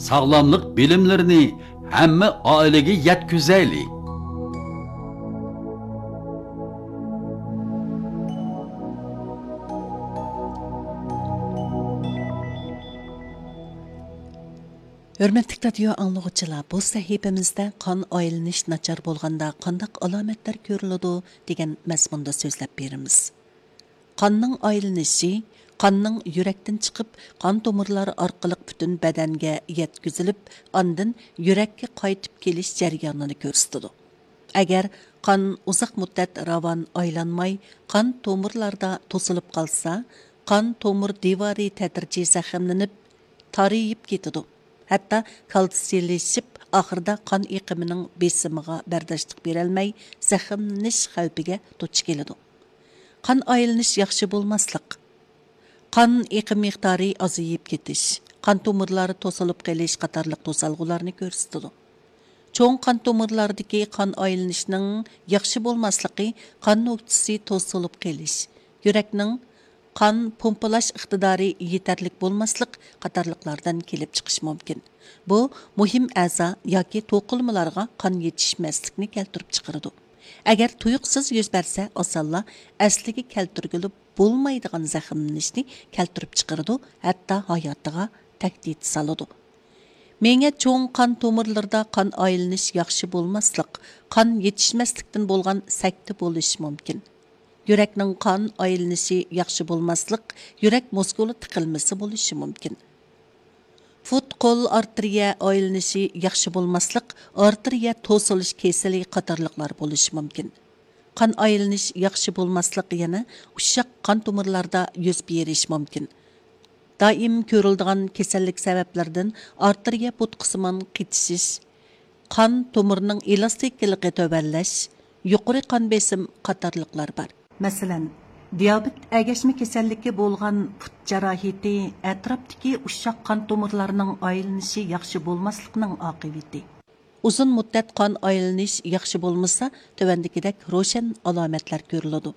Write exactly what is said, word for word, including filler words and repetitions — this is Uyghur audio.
ساغلاملىق بىلىملىرىنى ھەممە ئائىلىگە يەتكۈزەيلى. ھۆرمەتلىك رادىيو ئاڭلىغۇچىلار، بۇ سەھىپىمىزدە قان ئايلىنىش ناچار بولغاندا قانداق ئالامەتلەر كۆرۈلىدۇ دېگەن مەزمۇندا سۆزلەپ بېرىمىز. قاننىڭ ئايلىنىشى قاننىڭ يۈرەكتىن چىقىپ، قان تومۇرلار ئارقىلىق پۈتۈن بەدەنگە يەتكۈزۈلۈپ، ئاندىن يۈرەككە قايتىپ كېلىش جەريانىنى كۆرسىتىدۇ. ئەگەر قان ئۇزاق مۇددەت راۋان ئايلانماي، قان تومۇرلاردا توسۇلۇپ قالسا، قان تومۇر دىۋارى تەدرىجىي زەخىملىنىپ، تارىيىپ كېتىدۇ. ھەتتا كالتسىيلىشىپ، ئاخىرىدا قان ئېقىمىنىڭ بېسىمىغا بەرداشلىق بېرەلمەي، زەخىملىنىش خەۋپىگە دۇچ كېلىدۇ. قان ئايلىنىش ياخشى بولماسلىق، قان ئېقىم مىقدارى ئازىيىپ كېتىش، قان تومۇرلار توسۇلۇپ قېلىش قاتارلىق توسالغۇلارنى كۆرسىتىدۇ. چوڭ قان تومۇرلاردىكى قان ئايلىنىشنىڭ ياخشى بولماسلىقى قان نۆكتىسى توسۇلۇپ قېلىش، يۈرەكنىڭ قان پومپىلاش ئىقتىدارى يېتەرلىك بولماسلىق قاتارلىقلاردىن كېلىپ چىقىشى مۇمكىن. بۇ مۇھىم ئەزا ياكى توقۇلمىلارغا قان يېتىشمەسلىكنى كەلتۈرۈپ چىقىرىدۇ. ئەگەر تۇيۇقسىز يۈز بەرسە، ئاسانلا ئەسلىگە كەلتۈرگىلى بولمايدىغان زەخىملىنىشنى كەلتۈرۈپ چىقىرىدۇ، ھەتتا ھاياتىغا تەھدىت سالىدۇ. مېڭە چوڭ قان تومۇرلىرىدا قان ئايلىنىش ياخشى بولماسلىق، قان يېتىشمەسلىكتىن بولغان سەكتە بولۇشى مۇمكىن. يۈرەكنىڭ قان ئايلىنىشى ياخشى بولماسلىق، يۈرەك مۇسكۇلى تىقىلمىسى بولۇشى مۇمكىن. پۇت، قول ئارتېرىيە ئايلىنىشى ياخشى بولماسلىق، ئارتېرىيە توسۇلۇش كېسىلى قاتارلىقلار بولۇشى مۇمكىن. قان ئايلىنىش ياخشى بولماسلىق يەنە ئۇششاق قان تومۇرلاردا يۈز بېرىشى مۇمكىن. دائىم كۆرۈلىدىغان كېسەللىك سەۋەبلىرىدىن ئارتېرىيە بوتقىسىمان قېتىشىش، قان تومۇرىنىڭ ئېلاستىكىلىقى تۆۋەنلەش، يۇقىرى قان بېسىم قاتارلىقلار بار. مەسىلەن، دىيابېت ئەگەشمە كېسەللىكى بولغان پۇت جاراھىتى ئەتراپتىكى ئۇششاق قان تومۇرلارنىڭ ئايلىنىشى ياخشى بولماسلىقنىڭ ئاقىۋىتى. ئۇزۇن مۇددەت قان ئايلىنىش ياخشى بولمىسا، تۆۋەندىكىدەك روشەن ئالامەتلەر كۆرۈلىدۇ.